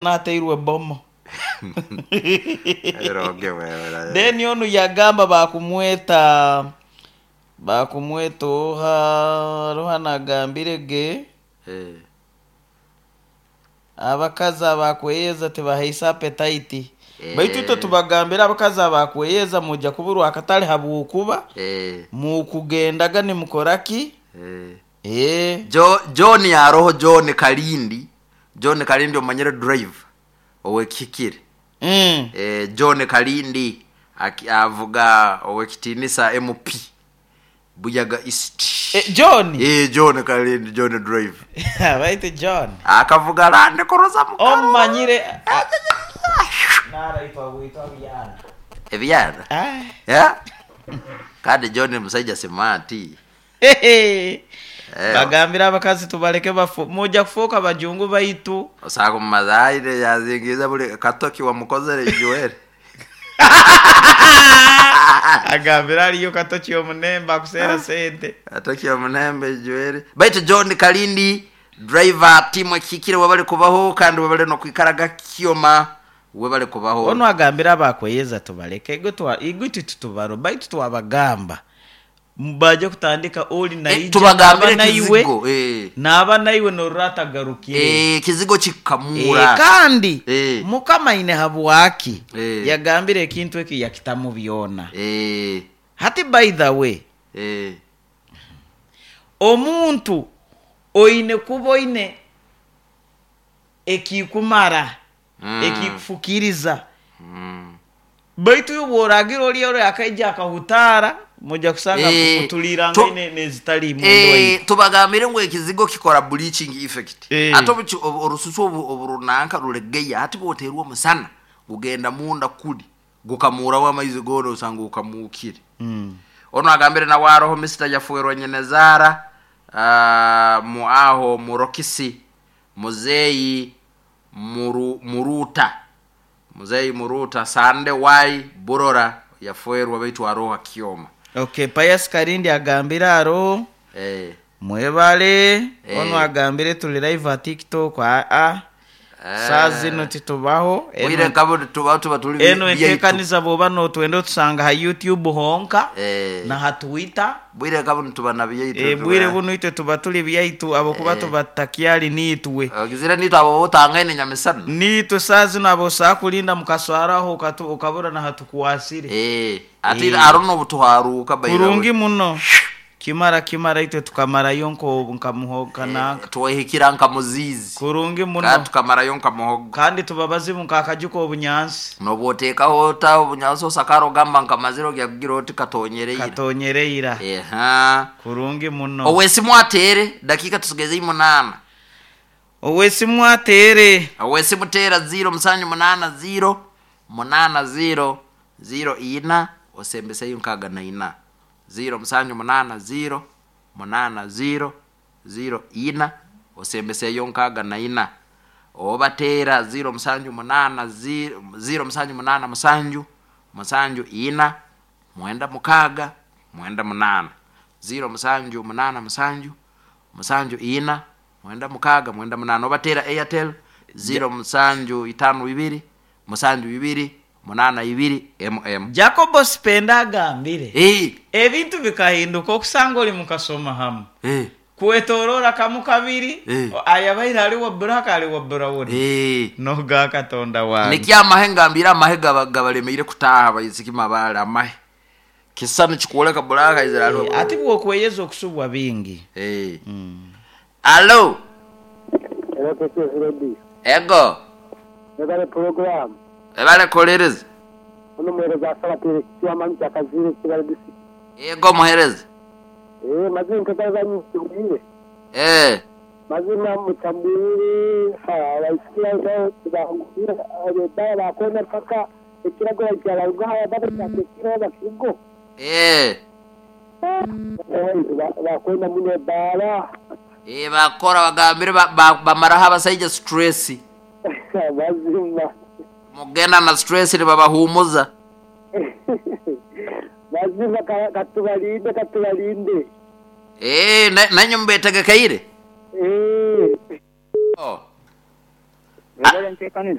Natairwe bomo. Then onu yagamba bakumweta bakumweta oha haroho anagambire ge abakazi abakweyeza tibahaisa appetite. Baitu itwe tubagambira abakazi abakweyeza mwija kuburwa akatale habwokuba mukugendaga nimukora ki? Eh. John aroho John Kalindi John Kalindi omanyire driver owekihikire. John Kalindi avuga owekitinisa MP Buyaga East. John? John Kalindi John driver. Baitu John. Akavuga Land Cruiser mukaru. Omumanyire. Naraitwa bwitwa byana. Ebyana? Ah. Yeah? Kandi John musaija smart. Bagambire abakazi tubaleke bafu muja kufuuka bajungu baitu. Osanga omumazaire yazingiize buli katoki wamukozere Joel. Agambire aliyo katoki omunembe akuseera sente. Katoki omunembe Joel. Baitu John Kalindi driver timu ekihikire webale kubaho kandi webale nokwikaraga Kyoma webale kubaho. Onu agambire abakweyeza tubaleke igwe titutubaro baitu twabagamba baje kutandika oli naija Tubagambire naba naiwe kizigo, eh. naba naiwe norora atagarukire. Kizigo kikamura. Kandi Mukama aine habwaki yagambire ekintu eki yakitamu byona. Hati by the way, omuntu oine kuba oine ekikumara, ekikufukiriza. Baitu iwe bw'oragira ori ori akaija akahutaara, muja kusanga mutulirangane n'ezitali imwe endwaire. Tubagambire ngu ekizigo kikora bleaching effect. Ate orususu oburunanka rulegeya, hati bwoterwa omusana gugenda munda kuli gukamuuraho amaizi goona osanga okamuukire. Onu agambire nawe aroho Mister Yafuirwe Nyenezaara, mu aho Murokisi Muzeyi Muruta Muzeyi Muruta Sande Y Burora yafuirwe baitu aroho Kyoma. Okay, Pius Karindi agambire aroho. Mwebale. Onu agambire tuli live at TikTok. A. Saa zino titubaho. Bwire nkabo tuba tuba tuli Eno byaitu. entekaniza bwoba notwenda otusanga ha YouTube honka na ha Twitter. Bwire nkabo nituba na byaitu. Bwire buno itwe tuba tuli byaitu abo kuba tuba takyali nitwe. Ogizire nitwe abo otangaine nyamisana. Nitwe saa zino abo saa kulinda mukaswaraho ukabura na hatukwasire. Ati arono obutuharuka by the way. Kurungi muno. Kimara kimara itwe tukamarayo nko nkamuhoga nanka. Twehikira nka muzizi. Kurungi muno. Kandi tukamarayo nka muhogo. Kandi tubabazibu nka akajuko obunyansi. Nobwotekaho ota obunyansi osakara ogamba nka maziro gyakugira oti katonyereira. Katonyereira. Kurungi muno. Owesimu atere dakika tusigeze 8. Owesimu atere. Owesimu tera 0 7 8 0 8 0 0 4 osembeseyo nkaga na ina. 0 7 8 0 8 0 0 4 osembeseyo nkaga na ina. Obatera 0 7 8 0 0 7 8 7 7 4 9 6 9 8 0 7 8 7 7 4 9 6 9 8. Obatera Airtel 0 7 5 2 7 2 8 2 MM. Jacobo Spenda agambire. Ebintu bikahinduka okusanga oli mukasoma hamu. Kwetorora kamu kabiri, ayabaire ali wa black ali wa brown. Noga Katonda wange. Nikyo amahe ngambire amahe gabalemeire kutaaha baisiki mabale amahe. Kisani kikuoleka black izira ali wa Ati bwokweyeza okusubwa bingi. Allo. Hello, KCS Radio. Ego. Ebale program. Ebale kolereza. Ono muhereza asaba tere kiwa manyi kyakazire kibale disi. Ego muhereza. Mazima nkekaza nyumbire. Mazima mutambire ha baisikia nso tubangire abeba bakona paka ekirago kyalaruga baba kyakiro bakigo. Bakona muno bara. Bakora bagambire bamaraho abasaija stress. Mazima. Mugenda na stress nibabahumuza. Mazima katubalinde katubalinde. Nanyu mbetegekeire? Oh. Webale ntekaniza.